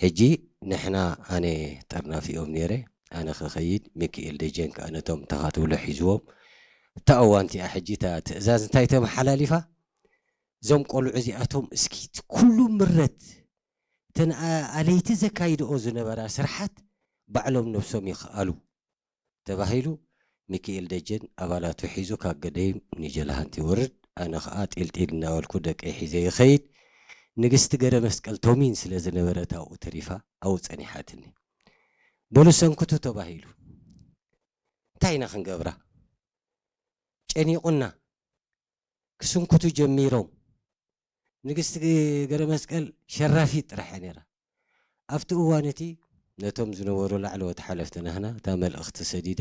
ሕጂ ንሕና፣ ኣነ ጠርናፊኦም ነይረ፣ ኣነ ክኸይድ፣ ሚኪኤል ደጀን ከኣ ነቶም ተኻትብሎ ሒዝዎም። እታ እዋን እቲኣ ሕጂ እታ ትእዛዝ እንታይ ተመሓላሊፋ? እዞም ቆልዑ እዚኣቶም እስኪ ኩሉ ምረት፣ እተን ኣ-፣ ኣለይቲ ዘካይድኦ ዝነበራ ስርሓት ባዕሎም ነብሶም ይኽኣሉ ተባሂሉ። ሚኪኤል ደጀን ኣባላቱ ሒዙ ካብ ገደይም ንጀላሃንቲ ይወርድ። ኣነ ኸኣ ጢልጢል እናበልኩ ደቀይ ሒዘ ይኸይድ። ንግስቲ ገረ መስቀል ቶሚን ስለ ዝነበረት ኣብኡ ተሪፋ ኣብኡ ጸኒሓትኒ። በሉ ሰንክቱ ተባሂሉ። እንታይ ኢና ክንገብራ? ጨኒቑና። ክስንክቱ ጀሚሮም። ንግስቲ ገረ መስቀል ሸራፊት ጥራሕ እያ ነይራ። ኣብቲ እዋን እቲ ነቶም ዝነበሩ ላዕለዎት ሓለፍቲ ናህና እታ መልእኽቲ ሰዲደ፣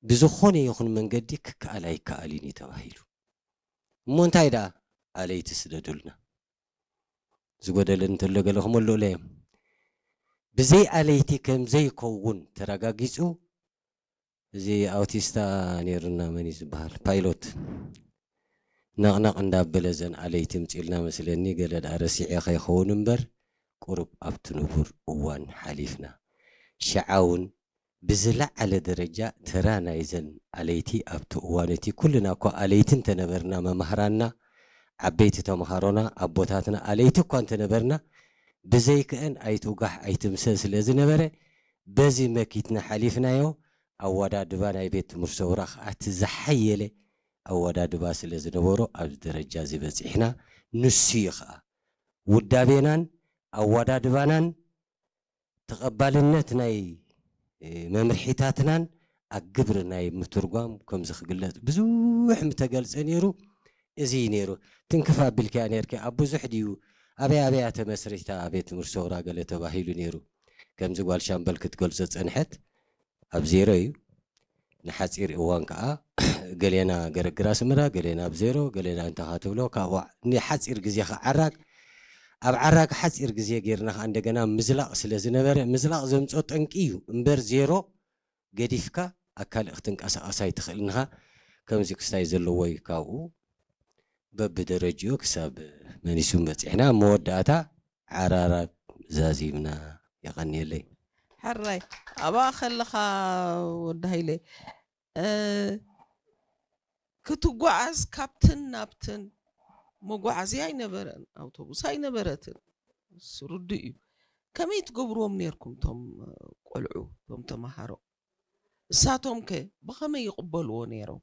ብዝኾነ ይኹን መንገዲ ክከኣል ኣይከኣልን እዩ ተባሂሉ። እሞ እንታይ ደኣ? ኣለይቲ ስደዱልና። ዝጎደለ እንተሎ ገለ ክመልኡለ እዮም። ብዘይ ኣለይቲ ከም ዘይከውን ተረጋጊጹ፣ እዚ ኣውቲስታ ነይሩና፣ መን እዩ ዝበሃል? ፓይሎት ነቕነቕ እንዳበለ እዘን ኣለይቲ ምጺልና መስለኒ፣ ገለ ደኣ ረሲዐ ከይኸውን እምበር፣ ቁሩብ ኣብቲ ንቡር እዋን ሓሊፍና። ሽዓ እውን ብዝለዓለ ደረጃ ተራ ናይዘን ኣለይቲ ኣብቲ እዋን እቲ፣ ኩልና እኳ ኣለይቲ እንተነበርና፣ መማህራንና፣ ዓበይቲ ተምሃሮና፣ ኣቦታትና ኣለይቲ እኳ እንተነበርና፣ ብዘይክአን ኣይትውጋሕ ኣይትምሰል ስለ ዝነበረ፣ በዚ መኪትና ሓሊፍናዮ። ኣወዳድባ ናይ ቤት ትምህርቲ ሰውራ ከዓ እቲ ዝሓየለ ኣወዳድባ ስለ ዝነበሮ ኣብዚ ደረጃ እዚ በፂሕና። ንሱ እዩ ከዓ ውዳቤናን ኣወዳድባናን ተቐባልነት ናይ፣ እ፣ መምርሒታትናን ኣብ ግብሪ ናይ ምትርጓም ከምዚ ክግለጽ ብዙሕ ምተገልጸ ነይሩ። እዚ እዩ ነይሩ። ትንክፍ ኣቢልክያ ነይርኪ። ኣብ ብዙሕ ድዩ፣ ኣበይ ኣበያ ተመስሪታ ቤት ትምህርቲ ሰውራ ገለ ተባሂሉ ነይሩ። ከምዚ ጓል ሻምበል ክትገልጾ ጸንሐት፣ ኣብ ዜሮ እዩ። ንሓጺር እዋን ከኣ ገሌና ገረግር ኣስመራ፣ ገሌና ኣብ ዜሮ፣ ገሌና እንተ ኻ ትብሎ፣ ካብኡ ንሓጺር ግዜ ከዓራግ፣ ኣብ ዓራግ ሓጺር ግዜ ጌርና ከኣ እንደገና ምዝላቕ ስለ ዝነበረ፣ ምዝላቕ ዘምጾ ጠንቂ እዩ እምበር፣ ዜሮ ገዲፍካ ኣብ ካልእ ክትንቀሳቐስ ኣይትኽእልን ኢኻ። ከምዚ ክስታይ ዘለዎ እዩ። ካብኡ በብደረጅኡ ክሳብ መኒሱም በጺሕና፣ ኣብ መወዳእታ ዓራራብ ዛዚምና። የቐንየለይ። ሕራይ፣ ኣብኣ ከለኻ ወዲ ሃይለ፣ እ፣ ክትጓዓዝ ካብትን ናብትን መጓዓዝያ ኣይነበረን፣ ኣውቶቡስ ኣይነበረትን። እሱ ርዱእ እዩ። ከመይ ትገብርዎም ነይርኩም እቶም ቆልዑ፣ እቶም ተምሃሮ? እሳቶም ከ ብኸመይ ይቕበልዎ ነይሮም?